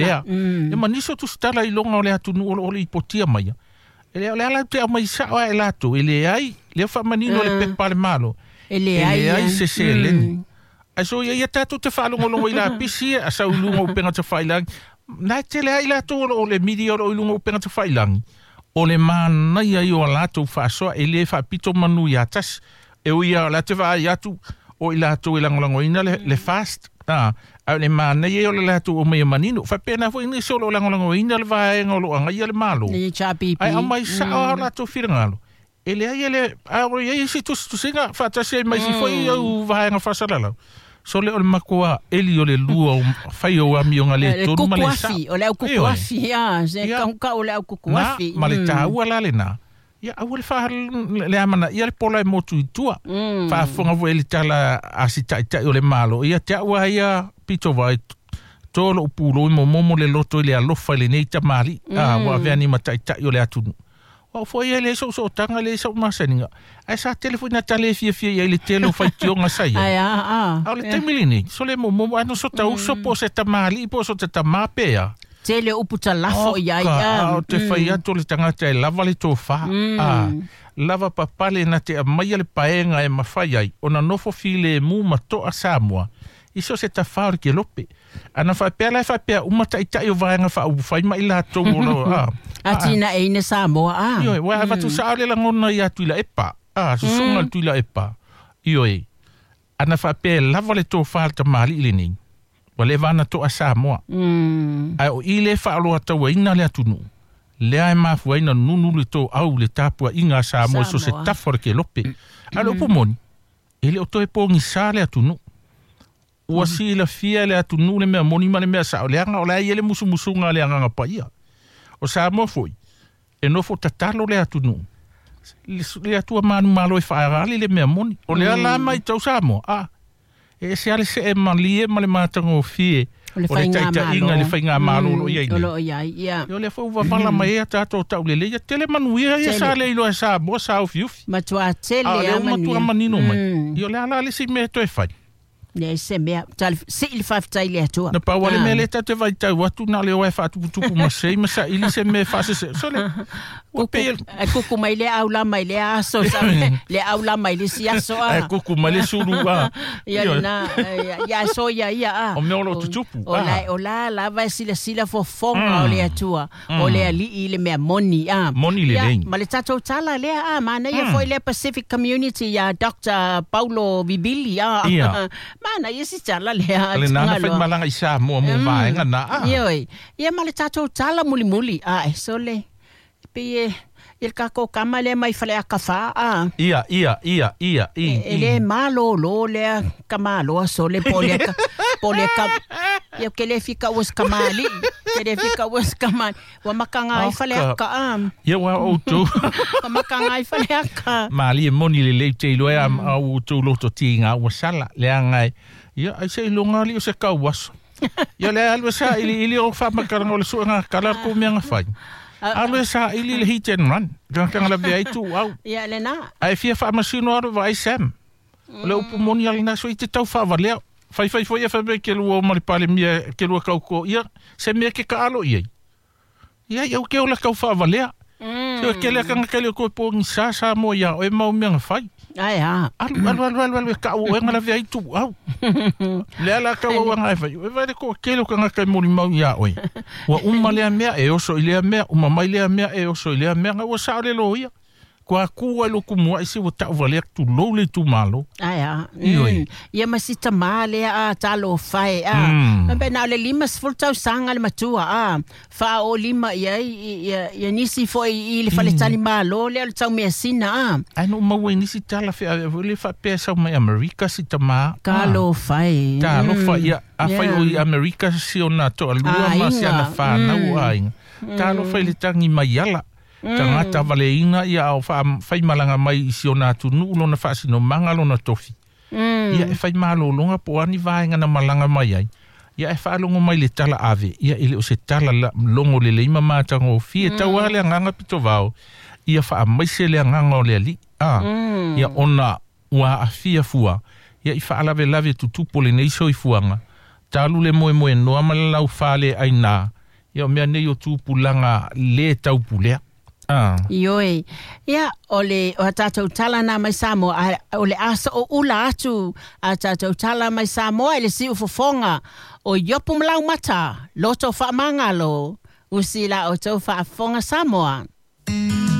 Faapea. Ia ma nisi o tusitala i luga o le atunuu o lo o lipotia maia, e le o le ala te aumai sao lava e latou, e leai, lea faamanino le pepa a le Malo, E leai, e leai se seleni. Ae so ia ia tatou te faalogologo i lapisi ia, a sau i luga o upega tafailagi, na e tele ai latou o lo o le media o lo o i luga o upega tafailagi, o le manaia ia o a latou faasoa, e le faapito manu ia tasi. E ui lava o la te vaai atu o i latou e lagolagoina le, le fast, a, a o le manaia ia o le latou aumaia manino. Faapena foi nisi o lo o lagolagoina le vaega o lo o agaia le Malo, Le HRPP. Ae aumai sao lava o latou finagalo. E leai e le, a o i ai isi tusitusiga faatasi ai ma isi foi au vaega faasalalau. Sole o le matua eli o le lua o fai o amioga le tonu ma le sao. O le au kukuafi, ia, se kaukau o le au kukuafi. Ma le taua la lena. Ia, aua le faa le amanaia le pola e motu i tua. Faafofoga foi i le tala a si taitai o le Malo. Ia te au lava ia pito vai, to lou pulou i momomo le loto i le alofa i lenei tamalii, a ua avea ni ma taitai o le atunuu. O au foi ia e leai sou sootaga, e leai sau masaniga, ae sa tele foi nā tala e fiafia i ai i le tele o faitioga sa i ai. Ae a, a. A o le taimi lenei, sole momomo, a no so ta uso po o se tamalii po o so te tamā pe a. Tele o upu talafo i ai, Oka, a. a o te fai atu o le tagata e lava le tofa, a lava papale na te aumaia le paega e mafai ai ona nofo filemu ma toa Samoa i so o se tafā o le kelope. Ana faapea la e faapea uma taitai o Vaega Faaupufai ma i latou o lo, a. Atinaeina Samoa, a. Ioe, ua avatu sao le lagona ia Tuilaepa, a, susuga le Tuilaepa. Ioe, ana faapea e lava le tofa a le tamalii lenei, ua leva ona toa Samoa. Ae o i le faaoloatauaina le atunuu, lea e mafua ai ona nunu le toau i le tapuaiga a Samoa i so o se tafa o le kelope. A o le upu moni, e le o toe pogisa le atunuu. Ua silafia e le atunuu le mea moni ma le mea sao, leaga o la e i ai le musumusuga a le Agaga Paia. O Samoa foi, e nofo tatalo le atunuu, le Atua manumalo e faaali le mea moni. O lea la matau Samoa, a, e ese lava le see malie ma le matagofie o le o le taitaiga i le faigamalo o lo o i ai O nei. lo o i ai, ia. Ia o lea foi ua vavala mai ai a tatou taulelei, ia tele manuia ia sa le iloa e Samoa sa ufiufi. Matua tele A o lea lava ua matua manuia. manino mai. Ia o le a la le isi mea e toe fai? Leai se mea. Sii le faafetai i le Atua. Na pau lava le mea lea tatou te vaitau atu, na o le o e faatuputupu masei ma saili se mea e faasese. Sole, ua pei e... Kuku, kuku mai lea au la mai lea aso, sa, le au la mai le si aso a. Ae kuku mai le sulu a. Ia lena, ia so ia ia a. O mea o lo o tutupu. O la, o la lava e silasila fofoga o le Atua, o le Alii i le mea moni a. Moni lelei. Ia, ma le tatou tala lea a, manaia foi lea Pacific Community ia Dr. Paulo Vibili a. Ia. Manaia si tala lea. Le nana fai malaga i Samoa mo vaega na a. Ioe. Ia ma le tatou tala mulimuli a e sole. Pei e i le kākou kama lea mai Faleata 4 a. Ia, ia, ia, ia, i, E le malōlō lea kamaloa sole po o lea ka, po o lea ka, ia ke le fika ua se kamali'i, ke le fika ua se kamali'i. Ua makaga ai Faleata a. Ia ua outou. Ua makaga ai Faleata. Malie moni lelei te iloa e a outou loto tiga ua sala, leaga e, ia, ai seiloga alii o se kauaso. Ia le alu e sailiili o faamatalaga o le suega kala le kou mea na fai. Alu e saili le hit and run. Tagata lavea ai tuuau. Ia lena. Ae fia faamasino alu vaai Sam. O le upu moni a lena sui te tau faavalea. Faifai foi e fai mai ke lua o ma le Palemia ke lua kauko ia se mea ke kaalo i ai. Ia ia ke ola kau faavalea. Se ke le kanga ke le ko po ni sa sa mo ia o e mau mea na fai. Ai a. Alu alu alu alu alu e kau e ngala vea i tu au. Le ala kau au anga e fai. E vai le ko ke lo kanga kai moli mau ia oe. Ua uma lea mea e oso i lea mea, uma mai lea mea e oso i lea mea, nga ua sao le lo ia. Kua kū ai lo kumu ai se ua tau valea tulou le itumalo. Ai a. Ioe. Ia ma si tamā lea a talofa e a. Pe na o le 50 tausaga le matua a. Faaolima i ai ia, ia nisi foi i le faletalimalo lea o le taumeasina a. Ai no maua i nisi tala whea e le whapea sau mai Amerika si tamā. Talofa e. Talofa ia, a whai o i Amerika si ona toalua ma si ana whānau aiga. Talofa i le tangi mai ala. Tagata valeina ia ao whaimalaga mai i si ona atunuu lona faasinomaga lona tofi. Ia e fai malōlōga po o a ni vaega na malaga mai ai. Ia e faalogo mai le tala ave, ia e le o se tala la, logo lelei ma matagofie. Tau lava le agaga pitovao, ia faamaise le agaga o le alii. A, ia ona ua aafia fua, ia i faalavelave tutupu o lenei soifuaga, Talu le moe noa ma le laufale aina. Ia o mea nei o tupulaga lē taupulea. Ioe. Ia, o le o tātou tala nā mai Samoa, o le asa o ula atu a tātou tala mai Samoa i le siu fofonga o Iopu ma Laumata, loto whaamangalo, usi la o tau whaafonga Samoa.